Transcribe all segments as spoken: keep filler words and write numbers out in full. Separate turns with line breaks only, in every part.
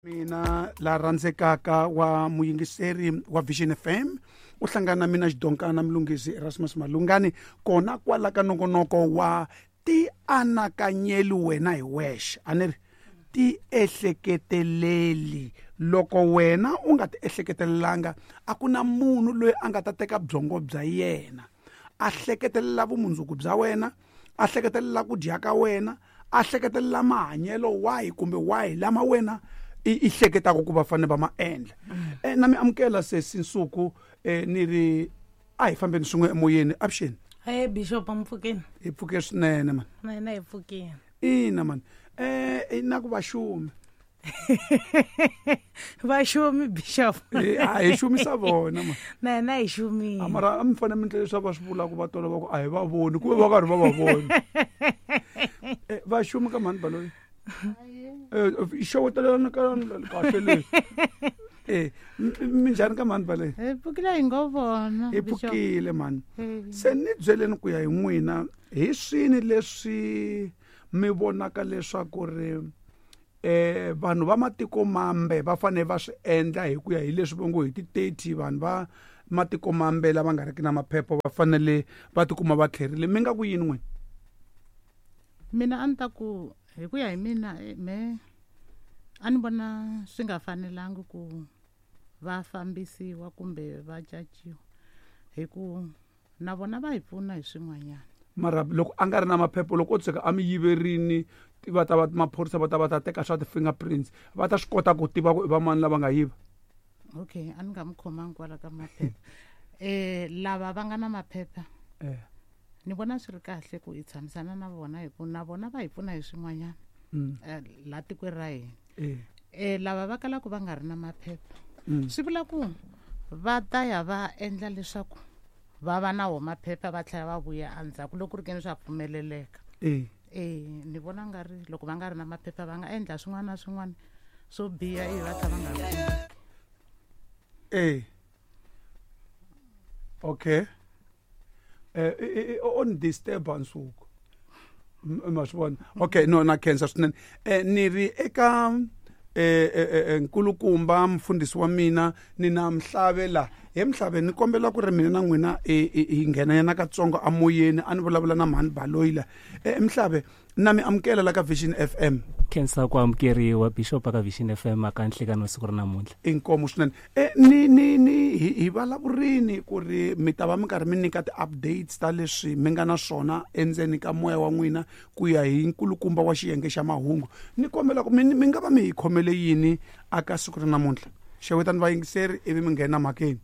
Mina la rhandzekaka wa muyingiseri wa Vision F M u hlangana na mina Xidonkana Mlungisi Erasmus Malungani kona kwala ka nongonoko wa ti anakanyeli wena hi wexe a ni ri ti ehleketeleli. Loko wena u nga ti ehleketelelanga a ku na munhu loyi a nga ta teka byongo bya yena a hleketelela vumundzuku bya wena, a hleketelela ku dya ka wena, a hleketelela mahanyelo wahi kumbe wahi lama wena i hleketaka ku va fanele va ma endla. Eh, na mi amukela sesi Nsuku, eh, ni ri a hi fambeni swin'we emoyeni. Avuxeni.
Hey Bishop, mpfukeni.
Hi pfuke swinene man.
Na hina hi pfukile.
Ina man. Eh, na ku vaxumi.
Vaxumi Bishop.
Eh, a hi xumisa vona man.
Na hina hi xumile.
Mara a mi fanele mi ndlela leswaku va swi vulaka va tola va ku a hi va voni ku va karhi va va vona. Eh, vaxumi ka mhani Baloyi. Eh, xewetelana ka kahle leyi. Eh, minjhani ka mhani Baloyi?
Hi pfukile hi ngo vona.
Hi pfukile mhani. Se ni byeleni ku ya hi n'wina hi swini leswi mi vonaka leswaku ri eh vanhu va matiko mambe va fanele va swi endla hi ku ya hi leswi va ngo hi ti thirty vanhu va matiko mambe lava nga riki na maphepha va fanele va tikuma va tlherile. Mi nga ku yini n'wina?
Mina a ni ta ku hi ku ya hi mina me a ni vona swi nga fanelangi ku va fambisiwa kumbe va caciwa hi ku na vona va hi pfuna hi swin'wanyana.
Mara loko a nga ri na maphepha loko o tshuka a mi yiverini va ta va maphorisa va ta va ta teka swa ti-fingerprints va ta swi kota ku tiva ku i va mani lava nga yiva.
Okay, a ni nga mi khomangi kwala ka maphepha. Eh, lava va nga na maphepha
eh
ni vona swi ri kahle ku hi tshamisana na vona hi ku na vona va hi pfuna hi swin'wanyana la tikweni ra hina. Eh lava va kalaka va nga ri na maphepha swi vula ku va ta ya va endla leswaku va va na wo maphepha va tlhela va vuya endzhaku loko ku ri keni swa pfumeleleka.
Eh
eh ni vona nga ri loko va nga ri na maphepha va nga endla swin'wana na swin'wana swo biha ivi va tlhela va nga.
Eh okay. Eh on disturbance uko ma swi vona. Okay, no na khensa swinene. Eh ni ri eka eh nkulukumba mfundhisi wa mina ni na Mhlave la. He Mhlave ni kombela ku ri mina na n'wina hi nghena yana katsongo amoyeni a ni vulavula na mhani Baloyi la. Eh Mhlave na mi amukela la ka Vision F M.
Khensa ku amukeriwa Bishop ka Vision F M aka nhlekano siku ra namuntlha.
Inkomo swinene. Eh ni ni ni hi vulavurini ku ri mi ta va mi karhi mi nyika ti-updates ta leswi mi nga na swona endzeni ka moya wa n'wina ku ya hi nkulukumba wa xiyenge xa mahungu. Ni kombela ku mi mi nga va mi hi khomele yini aka siku ra namuntlha. Xewetani vayingiseri ivi mi nghena mhakeni.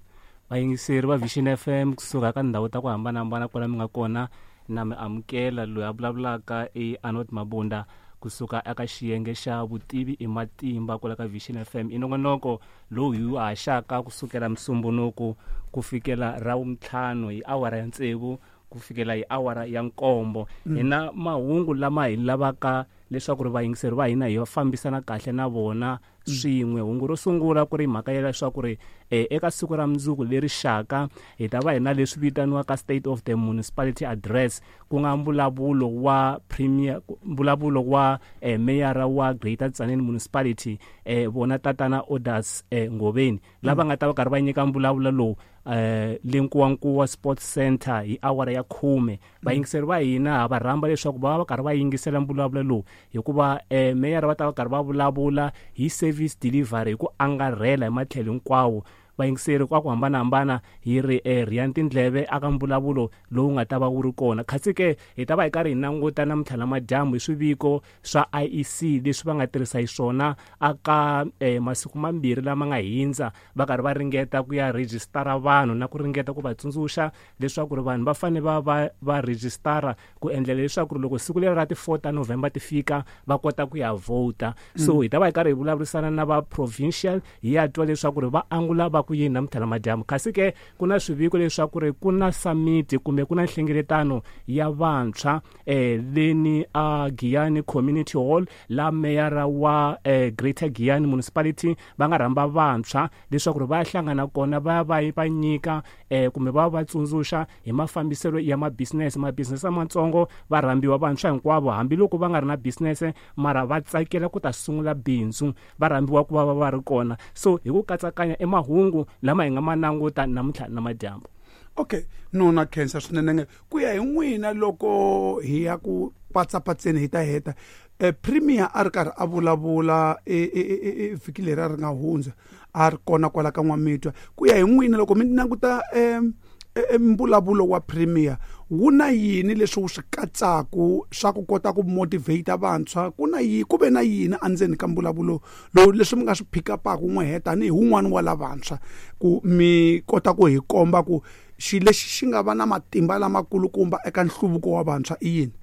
Vayingiseri va Vision F M kusuka ka ndhawu ta ku hambanahambana kwala mi nga kona na mi amukela loyi a vulavulaka i Arnold Mabunda kusuka eka xiyenge xa vutivi i matimba kwala ka Vision F M. I nongonoko lowu hi wu haxaka kusukela Musumbunuku ku fikela Ravuntlhanu hi awara ya tsevu ku fikela hi awara ya nkombo. Hi na mahungu lama hi lavaka leswaku ri vayingiseri va hina hi fambisana kahle na vona swin'we. Hungu ro sungula ku ri mhaka ya leswaku ri eka siku ra mundzuku leri xaka hi ta va hi na leswi vitaniwaka State of the Municipality Address, ku nga mbulavulo wa premier, mbulavulo wa eh, meyara wa Greater Tzaneen Municipality eh, vona tatana Orders eh, Ngoveni lava nga ta va karhi va nyika mbulavulo lowu eh le Nkuwankuwa Sports Center hi awara ya khume. Vayingiseri va hina ha va rhamba leswaku va va karhi va yingisela mbulavulo lowu hikuva eh meyara va ta va karhi va vulavula hi service delivery hi ku angarhela hi matlhelo hinkwawo. Vayingiseri kwa ku hambanahambana hi ri eh rhiyani tindleve aka mbulavulo lowu nga ta va wu ri kona. Kasi ke hi ta va hi karhi hi languta namuntlha namadyambu hi swiviko swa I E C leswi va nga tirhisa hi swona aka eh, masiku mambirhi lama nga hindza va karhi va ringeta ku ya rejistara vanhu na ku ringeta ku va tsundzuxa leswaku ri vanhu va fanele va va va rejistara ku endlela leswaku ri loko siku leri ra ti four ta November ti fika va kota ku ya vhota. So hi ta va hi karhi hi vulavurisana na va provincial hi ya twa leswaku ri va angula va ku yini namuntlha namadyambu. Kasi ke ku na swiviko leswaku ri ku na summit kumbe ku na nhlengeletano ya vantshwa eh leni a Giyani Community Hall, la meyara wa eh, Greater Giyani Municipality va nga rhamba vantshwa leswaku ri va hlangana kona va va va nyika eh, kumbe va va tsundzuxa hi mafambiselo ya ma-business ma-business lamatsongo. Va rhambiwa vantshwa hinkwavo hambiloko va nga ri na business mara va tsakela ku ta sungula bindzu, va rhambiwa ku va va va ri kona. So hi ku katsakanya i mahungu lama hi nga ma languta namuntlha namadyambu.
Okay, nona khensa swinene ku ya hi n'wina loko hi ya ku patsapatseni hi ta heta. Eh, Premier a ri karhi a vulavula e vhiki leri a ri nga hundza, a ri kona kwala ka N'wamitwa. Ku ya hi n'wina loko mi languta um mbulavulo wa Premier, wu na yini leswi wu swi katsaku swa ku kota ku motivate vantshwa? Ku na yini, ku ve na yini endzeni ka mbulavulo lowu leswi mi nga swi pick up-aku n'we tanihi wun'wani wa lavantshwa, ku mi kota ku hi komba ku xilo lexi xi nga va na matimba lamakulukumba eka nhluvuko wa vantshwa i yini?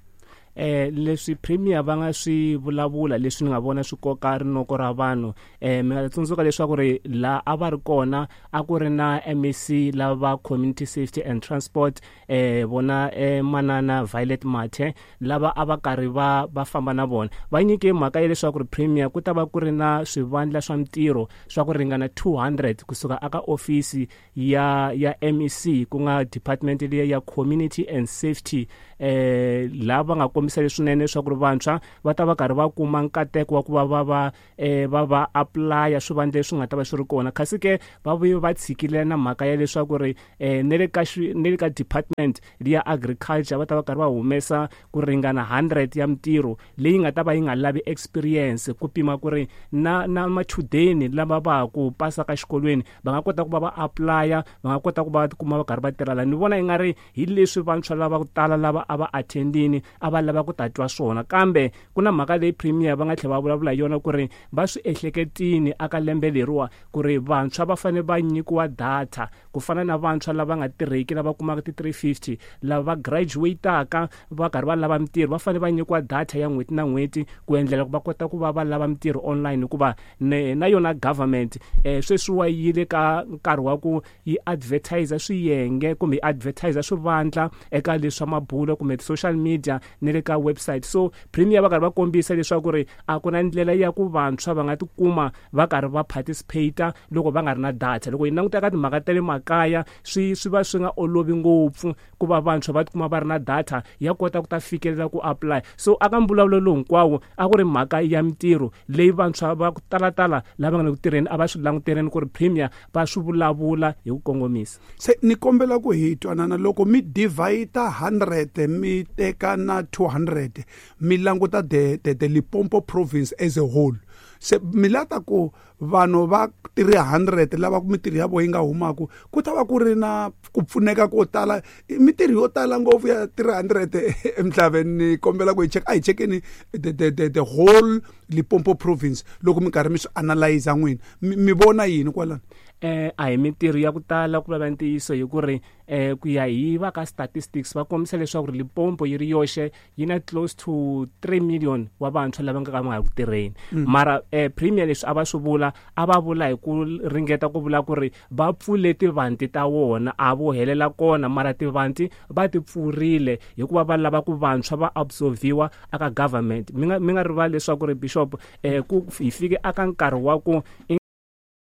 Eh leswi Premier va nga swi vulavula leswi ni nga vona swi koka rinoko ra vanhu, eh mi nga tsundzuka leswaku ri la a va ri kona a ku ri na M E C lava Community Safety and Transport, eh vona eh, manana Violet Mathe, lava a va karhi va va famba na vona. Va nyike mhaka ya leswaku ri Premier ku ta va ku ri na swivandla swa mitirho swa ku ringana two hundred kusuka aka ofisi ya ya M E C, ku nga department liya ya Community and Safety, eh lava nga kombisa leswinene leswaku ri vantshwa va ta va karhi va kuma nkateko wa ku va va va eh va va apply swivandla leswi nga ta va swi ri kona. Kasi ke va vuye va tshikile na mhaka ya leswaku ri eh ne le ka ne le ka department liya agriculture va ta va karhi va humesa ku ringana hundred ya mitirho leyi nga ta va yi nga lavi experience, ku pima ku ri na na machudeni lava va ku pasa ka xikolweni va nga kota ku va va apply, va nga kota ku va kuma va karhi va tirha la. Ni vona yi nga ri hi leswi vantshwa lava ku tala lava a va attendini a va lava ku ta twa swona. Kambe ku na mhaka leyi Premier va nga tlhela va vulavula hi yona ku ri va swi ehleketini aka lembe leriwa ku ri vantshwa va fanele va nyikiwa data ku fana na vantshwa lava nga tirheki lava kumaka ti three fifty, lava va graduate-aka va karhi va lava mitirho va fanele va nyikiwa data ya n'hweti na n'hweti ku endlela ku va kota ku va va lava mitirho online, hikuva na yona government eh sweswi wa yile ka nkarhi wa ku yi advertise swiyenge kumbe yi advertise swivandla eka leswa mabulo kumbe social media ne le ka website. So Premier va karhi va kombisa leswaku ri a ku na ndlela ya ku vantshwa va nga tikuma va karhi va participate loko va nga ri na data. Loko hi languta ka timhaka ta le makaya swi swi va swi nga olovi ngopfu ku va vantshwa va tikuma va ri na data ya kota ku ta fikelela ku apply. So aka mbulavulo lowu hinkwawo a ku ri mhaka ya mitirho leyi vantshwa va ku talatala lava nga le ku tirheni a va swi languteleni ku ri Premier va swi vulavula hi ku kongomisa.
Se ni kombela ku hi twanana loko mi divide hundred mi teka na two hundred mi languta the the, the Limpopo province as a whole, se mi lata ku vanhu va three hundred lava ku mitirho ya vo yi nga humaku ku ta va ku ri na ku pfuneka ko tala, mitirho yo tala ngopfu ya three hundred emhlabeni. Ni kombela ku hi check a hi checkeni the the the, the whole Limpopo province loko mi karhi mi swi analyze n'wina mi vona yini kwalano?
Eh a hi mitirho ya ku tala ku vulavula ntiyiso hi ku ri eh ku ya hi va ka statistics va kombisa leswaku ri Limpopo yi ri yoxe yi na close to three million wa vantshwa lava nga ka va nga ku tirheni. Mara eh Premier leswi a va swi vula a va vula hi ku ringeta ku vula ku ri va pfule tivanti ta wona a vo helela kona, mara tivanti va ti pfurile hikuva va lava ku vantshwa va absorbiwa aka government. Mi nga mi nga rivali leswaku ri Bishop eh ku hi fike aka nkarhi wa ku